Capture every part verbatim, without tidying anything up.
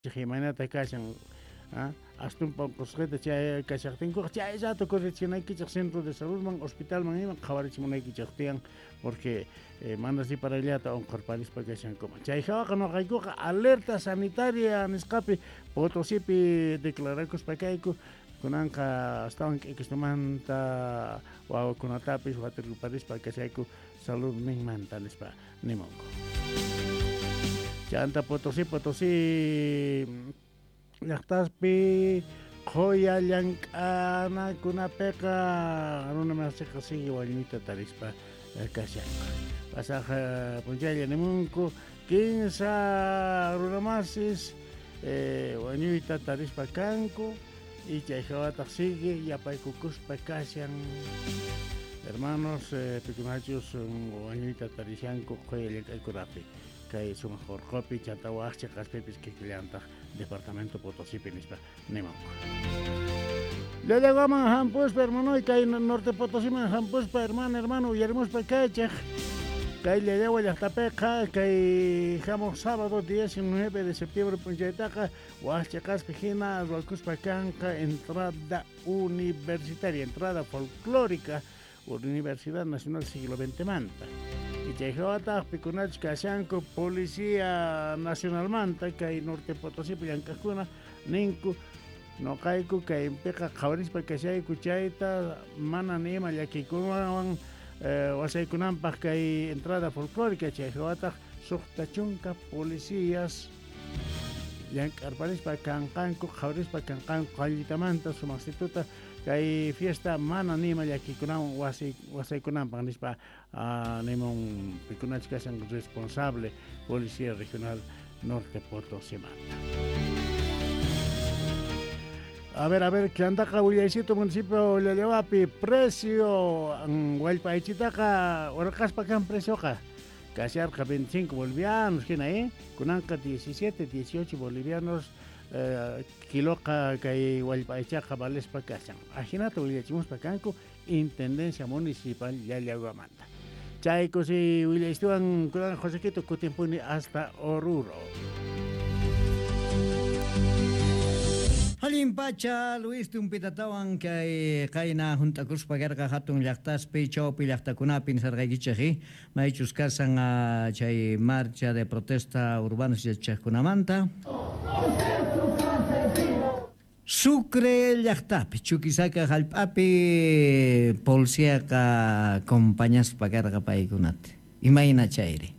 Imaynata kashan astumpa unqusqita chay kashaqtinkuqa chay rato correchinaykichik centro de saludman hospitalman ima qhawarichimunaykichik tiyan porque eh, mana riparayllata unqurparispa kashankuman. Chay hawaqa nuqaykuqa alerta sanitaria nisqapi Potosipi declarakuspa kayku kunanqa astawan k'ikistumanta wawakunatapis waturparispa kashayku saludninmanta nispa nimunku. Chanta Potosí, Potosí llaqtaspi qhuya llank'anakunapiqa runa masiqa sigue wañuyta tarispa kashanku. Pasaq p'unchaylla nimunku kinsa runamasis eh, wañuyta tarispa kanku y chay hawataq sigue yapaykukuspa kashan. Hermanos, eh, pikunachus wañuyta tarishanku qhuya llank'aykunapi kay sumaq urqupi chanta waq chiqaspipis kikillantaq departamento Potosipi nispa nimunku. Llallawaman hampuspa hermano kay Norte Potosiman hampuspa hermano hermano uyarimuspa kaychik kay Llallawa llaqtapiqa kay hamuq sábado diecinueve de septiembre p'unchaytaqa waq chiqaspi hina ruwakuspa kanqa entrada universitaria, entrada folclórica Universidad Nacional Siglo veinte manta. Y chay hawataq pikunachus kashanku Policía Nacionalmanta kay Norte Potosipi llank'aqkuna ninku nuqayku kaypiqa qhawarispa kashayku chayta mana ni ima llakiykunawan eh, wasaykunanpaq kay entrada folclórica chay hawataq suqta chunka policías llank'arparispa kanqanku qhawarispa kanqanku qallitamanta sumaqsituta kay fiesta mana nima llakiykunawan wasi wasaykunanpaq nispa uh, nimun pikunachus kashan responsable Policía Regional Norte Potosimanta. A ver, a ver, chantaqa willaycito municipio Llallawapi precio wallpa aychitaqa urqaspa kan precioqa kasharqa veinticinco bolivianos hina eh kunanqa diecisiete, dieciocho bolivianos eh, kiloqa kay wallpa aychaqa valespa kashan. Ajinata willachimuspa kanku Intendencia Municipal Llallawamanta. Chayku si willaystuwan kunan Josequito kutimpuni hasta Oruro. Allin pacha Luis Tumpitatawan kay qayna hunt'akuspa karqa hatun llaqtaspi chawpi llaqtakunapi nisarqaykichik maychus kasan chay marcha de protesta urbanos yachaqkunamanta. Sucre llaqtapi Chuquisaca hallp'api policiaqa compañaspa karqa paykunata. Imayna chayri.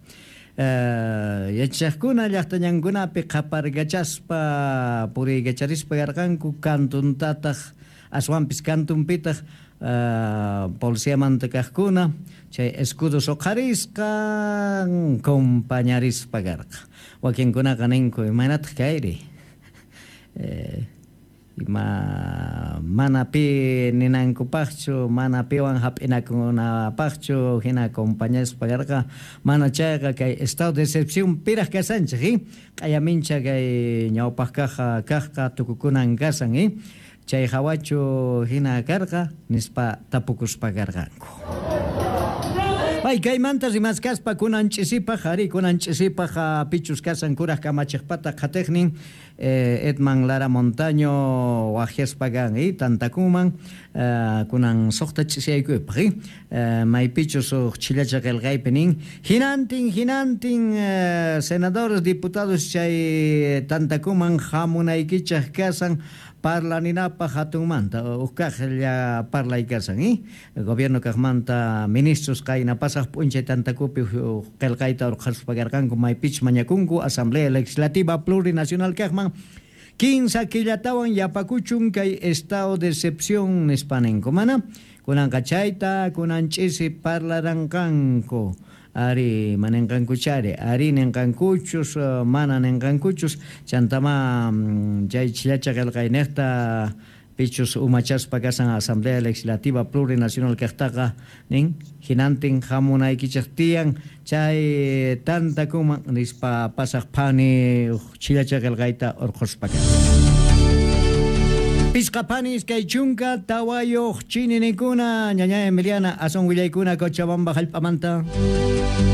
Uh, yachaqkuna llaqtañankunapi qhaparkachaspa puriykacharispa karqanku kantuntataq aswanpis kantunpitaq uh, policiamanta kaqkuna chay escudos uqharisqa compañarispa karqa. Wakinkunaqa ninku imaynataq kayri eh, ima mana pi ninankupaqchu mana piwan hap'inakunapaqchu hina compañaspa karqa mana chayqa kay estado de excepción piraq kasanchik eh? Q'ayamincha kay ñawpaq kaqqa kaqqa tukukunan kasan eh? Chay hawachu hina karqa nispa tapukuspa karqanku. Pay kaymanta rimaskaspa kunan ch'isipaq ari kunan ch'isipaq pichus kasan kuraq kamachiqpata qhatiqnin eh, Edman Lara Montaño waqyaspa kan eh, tantakuman eh, kunan suqta ch'isiyaykuypaq eh, maypichus uq chillacha qillqaypi nin hinantin hinantin eh, senadores diputados chay tantakuman hamunaykichaq kasan parlaninapaq hatunmanta uq kaqlla parlay kasan eh? Gobierno kaqmanta ministros qayna pasaq p'unchay tantakupi qillqayta urqhaspa karqanku maypichus mañakunku Asamblea Legislativa Plurinacional kaqman kinsa killatawan yapakuchun kay estado de excepción nispa ninku mana kunanqa chayta kunan ch'isi parlaranqanku ari manenqankuchari ari nenqankuchus mana nenqankuchus chantama chay chillacha qillqayniqta pichus umachaspa kasan Asamblea Legislativa Plurinacional kaqtaqa nin hinantin hamunaykichik tiyan chay tantakuman nispa pasaq phani chillacha qillqayta urqhuspa kan. Pisqa phani iskay chunka tawayuq chininikuna ñaña Emiliana asun willaykuna Cochabamba hallp'amanta.